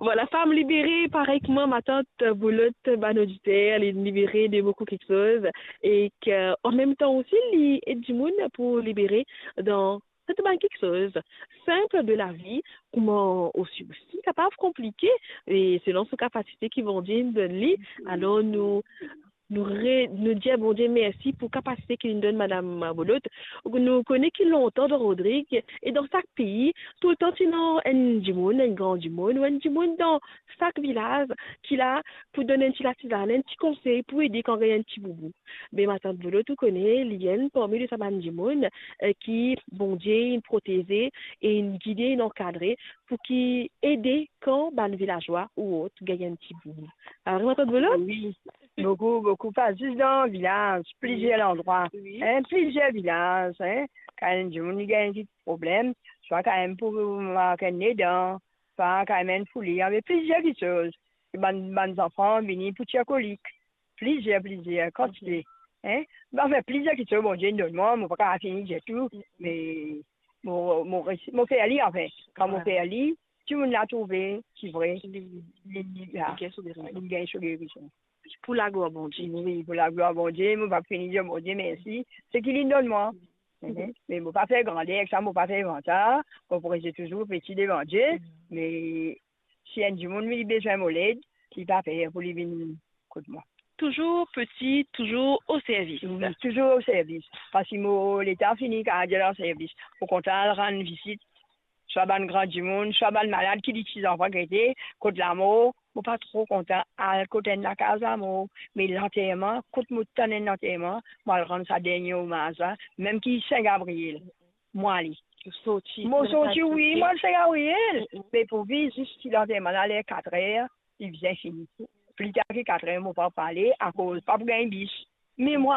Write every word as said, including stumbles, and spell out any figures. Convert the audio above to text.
Vwala, fam libere, parey kouma matant Boulotte, bann oditer, li libere de boukou kiksoz, e ki, an mem tan osi, li ed dimoun pou libere dan sirte bann kiksoz sinp de lavi, kouma osi, osi kapav konplike, e selon so kapasite ki Bondie inn donn li. Alor nou, nou re-, nou dir Bondie mersi pou kapasite ki linn donn Madam Boulotte. Nou kone ki lontan dan Rodrig e dan sak pei, toultan ti ena enn dimoun, enn gran dimoun, ou enn dimoun dan sak vilaz ki la pou donn enn ti latizann, enn ti konsey, pou ede kan gagn enn ti boubou. Be matant Boulotte, ou kone, li enn parmi de sa bann dimoun, eh, ki Bondie inn proteze, e inn gide, inn ankadre, pou ki ede kan bann vilazwa ou ot gagn enn ti boubou. Ah, vre, matant Boulotte? Wi, boukou, boukou, pa zis dan vilaz, plizier landrwa, wi, en, plizier vilaz, en, kan enn dimoun li gagn enn ti problem, swa kan mem pou mark enn nedan, swa kan mem enn foule, ave plizier kiksoz. Bann, bann zanfan vini pou tir kolik, plizier, plizier kantite, en. Anfin, plizier kiksoz Bondie inn donn mwa, mo pa kapav fini dir tou, me mo, mo resi-, mo fer li, anfin, kan mo fer li, dimoun la trouve, se vre, li, li, li, li gagn so gerizon. Pou laglwar Bondie. Wi, pou laglwar Bondie, mo pa fini dir Bondie mersi, seki linn donn mwa. Mhm. Me mo pa fer grander ek sa, mo pa fer vantar, mo pou reste touzour peti devan Die, me si enn dimoun li bizin mo led, li pa per pou li vinn kot mwa. Touzour peti, touzour o servis. Wi, touzour o servis. Parski mo letan fini, kan dir an servis, mo kontan al rann vizit, swa bann gran dimoun, swa bann malad ki li ti zanfan gete, kot lamor, mo pa tro kontan al kot enn lakaz lamor, me lanterman, kot mo tann enn lanterman, mo al rann sa dernie omaz la, mem ki Sin Gabriel, mo ale. Ou sorti, mo sorti, wi, mo al Sin Gabriel, mm, mm, me pou vizit lanterman la, ler katrer, li bizin fini. Pli tar ki katrer, mo pa pou ale, akoz pa pou gagn bis. Me mo